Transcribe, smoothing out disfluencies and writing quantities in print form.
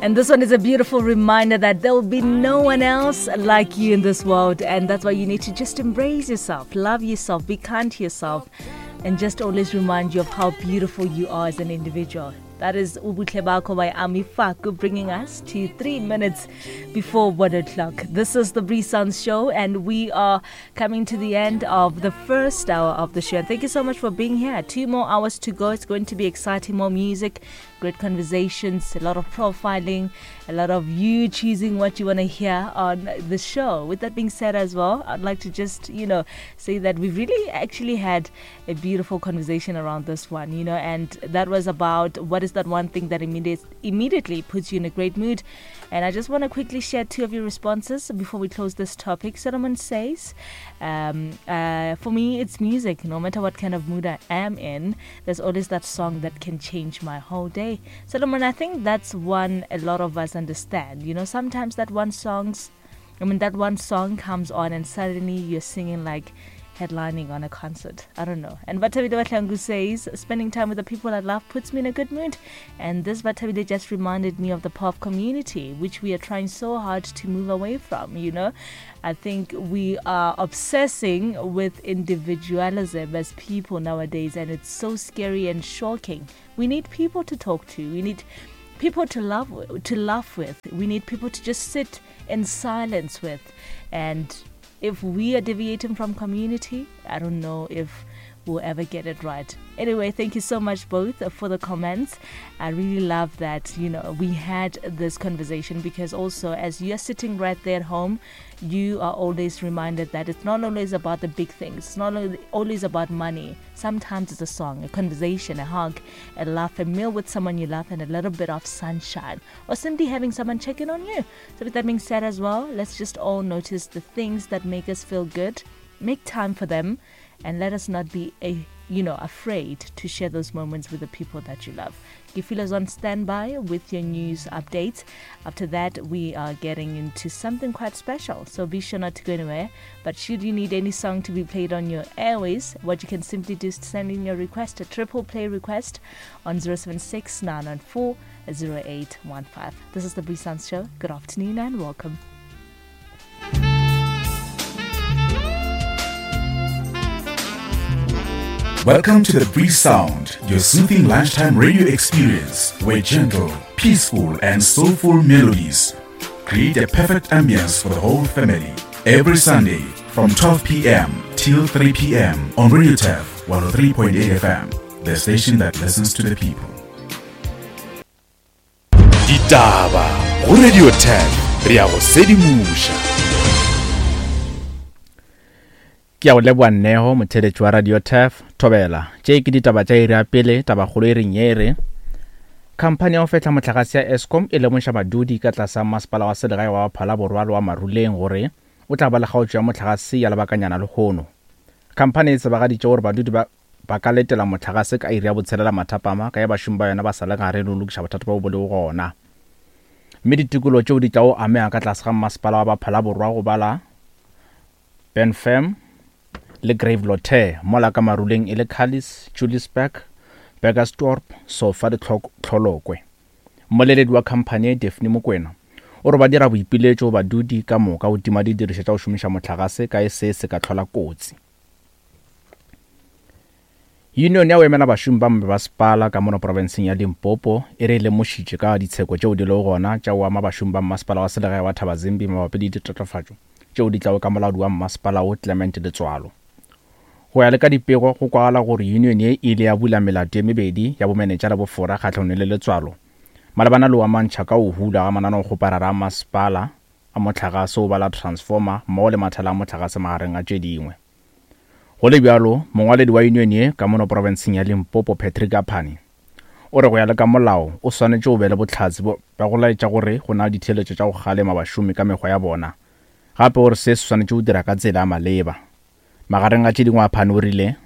And this one is a beautiful reminder that there will be no one else like you in this world. And that's why you need to just embrace yourself, love yourself, be kind to yourself, and just always remind you of how beautiful you are as an individual. That is Ubuhle Bakho by Ami Faku, bringing us to 3 minutes before 1 o'clock. This is the Bree Sounds Show, and we are coming to the end of the first hour of the show. And thank you so much for being here. 2 more hours to go. It's going to be exciting, more music, great conversations, a lot of profiling, a lot of you choosing what you want to hear on the show. With that being said as well, I'd like to just, you know, say that we've really actually had a beautiful conversation around this one, you know, and that was about what is that one thing that immediately puts you in a great mood. And I just want to quickly share 2 of your responses before we close this topic. Solomon says, for me, it's music. No matter what kind of mood I am in, there's always that song that can change my whole day. Solomon, I think that's one a lot of us understand. You know, sometimes that one song's, I mean, that one song comes on and suddenly you're singing like headlining on a concert. I don't know. And Bathabile Batlangu says, spending time with the people I love puts me in a good mood. And this Bathabile just reminded me of the power of community, which we are trying so hard to move away from, you know. I think we are obsessing with individualism as people nowadays, and it's so scary and shocking. We need people to talk to. We need people to love, to laugh with. We need people to just sit in silence with. And if we are deviating from community, I don't know if we'll ever get it right. Anyway, thank you so much both for the comments. I really love that, you know, we had this conversation, because also as you're sitting right there at home, you are always reminded that it's not always about the big things. It's not always about money. Sometimes it's a song, a conversation, a hug, a laugh, a meal with someone you love, and a little bit of sunshine, or simply having someone check in on you. So with that being said as well, let's just all notice the things that make us feel good, make time for them, and let us not be afraid to share those moments with the people that you love. Gifila's on standby with your news updates. After that, we are getting into something quite special, so be sure not to go anywhere. But should you need any song to be played on your airways, what you can simply do is send in your request, a triple play request, on 076 994 0815. This is the Bree Sounds Show. Good afternoon and welcome. Welcome to the Bree Sound, your soothing lunchtime radio experience where gentle, peaceful and soulful melodies create a perfect ambience for the whole family. Every Sunday from 12 p.m. till 3 p.m. on Radio Turf 103.8 FM, the station that listens to the people. Ditaba go Radio Turf, re ya go sedimoša. Ke a go leboa Nneho, motheletši wa Radio Turf. Thobela, tše ke ditaba tša iri ya pele. Tabakgolo e reng ye re khamphani ya go fehla mohlagase ya Eskom e lemoša badudi ka tlase ga masepala wa selegae wa Phalaborwa le wa Maruleng gore o tla ba le kgaotšo ya mohlagase ya lebakanyana lehono. Khamphani e tsebagaditše gore badudi ba ka letela mohlagase ka iri ya botshelela mathapama ka ya bašomi ba yona ba sa le gare le go lokiša bothata bjo bo lego gona. Mme ditikologo tšeo di tlago amega ka tlase ga masepala wa Phalaborwa go bala Benfam le Gravelotte, mola ka Maruleng e le Cullis, Juliusburg, Burgersdorp, Sofa le Tlholokwe. Mmoleledi wa khamphani ye Daphne Mokwena o re ba dira boipiletšo go badudi ka moka go tima didirišwa tša go šomiša mohlagase ka e se se ka hlola kotsi. Union ya go emela bašomi ba mebasepala ka mono profenseng ya Limpopo e re e lemošitše ka ditsheko tšeo di lego gona tša go ama bašomi ba mmasepala wa selegae wa Thabazimbi mabapi le ditatofatšo tšeo di tlago ka molaodi wa mmasepala wo Clement Letswalo. Go ya le ka dipego, go kwagala gore union ye e ile ya bula melato ye mebedi ya bomenetša le bofora kgahlanong le Letswalo malebana le go amantšha ka go hula ga mananeokgoparara a masepala a mohlagase o bala transformer mmogo le mathala a mohlagase magareng a tše dingwe. Go le bjalo, mongwaledi wa union ye ka mono profenseng ya Limpopo Patrick Aphane o re go ya le ka molao o swanetše o be le bohlatse bja go laetša gore go na le ditheeletšo tša go kgalema bašomi ka mekgwa ya bona. Gape o re se se swanetše go dira ka tsela ya maleba. Magareng a tše dingwe Aphane o rile.